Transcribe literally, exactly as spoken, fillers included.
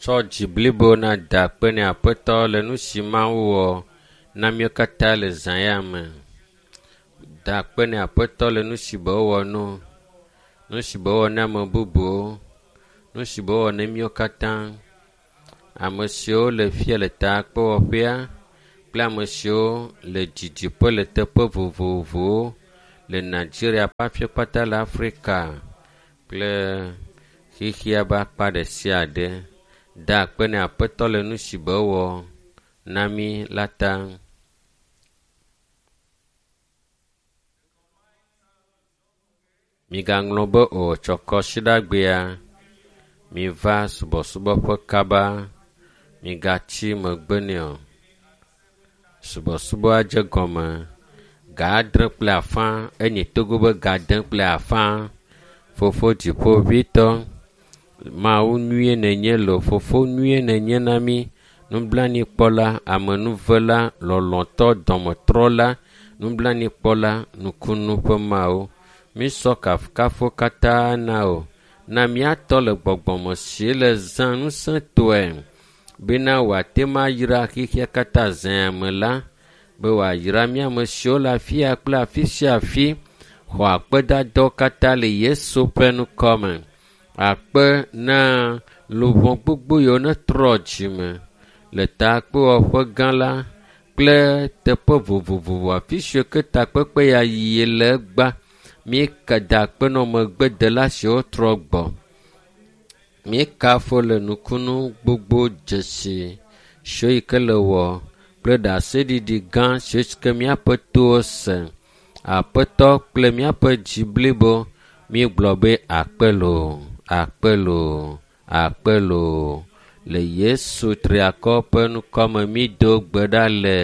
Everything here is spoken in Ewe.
Tsɔ dzi blibo na da akpe ne Aƒetɔ le nu si Mawu wɔ na míwo katã le zã ya me. Da akpe ne Aƒetɔ le nu si be wowɔ no, nu si be wowɔ na ame bubuwo, nu si be wowɔ na míwo katã. Ame siwo le fia le takpewɔƒea kple ame siwo le didiƒe le teƒe vovovowo le Nigeria ƒe afi kpata le Afrika kple xexea ƒe akpa ɖe sia ɖe. Da akpe ne Aƒetɔ le nu si be wowɔ na mí la ta. Migaŋlɔ be o tsɔ kɔsiɖagbea, miva subɔsubɔƒe kaba, migatsi megbe nɛ o. Subɔsubɔa dze gɔme ga adre kple afã enye Togo be ga ade kple afã. Fofo dziƒoʋĩtɔ, Mawu nyuie nènye loo, fofo nyuie nènye na mí, nublanuikpɔla, amenuvela, lɔlɔ̃tɔ, dɔmetrɔla, nublanuikpɔla, nukunu ƒe Mawu. Mísɔ kafukafu katã na wò. Na míatɔ le gbɔgbɔme si le zã ŋusẽtɔe bena wòate ŋu ayra xexea katã zã me la, be wòayra mía ame siwo le afi ya kple afi sia afi. Xɔ akpedadawo katã le Yesu ƒe ŋkɔme. Akpe na luʋɔ gbogbo yiwo netrɔ dzime le takpewɔƒe gã la kple teƒe vovovowo afi siwo ke takpekpe ya yi le egbea. Míeka da akpe na megbedela siwo trɔ gbɔ. Míekafo le nukunu gbogbo dzesi siwo yi ke le wɔ kple ɖaseɖiɖi gã siwo ke míaƒe towo se. Aƒetɔ kple míaƒe dzi blibo míegblɔ be akpe loo, akpe loo, akpe loo. Le Yesu triakɔ ƒe ŋkɔme mído gbe ɖa le.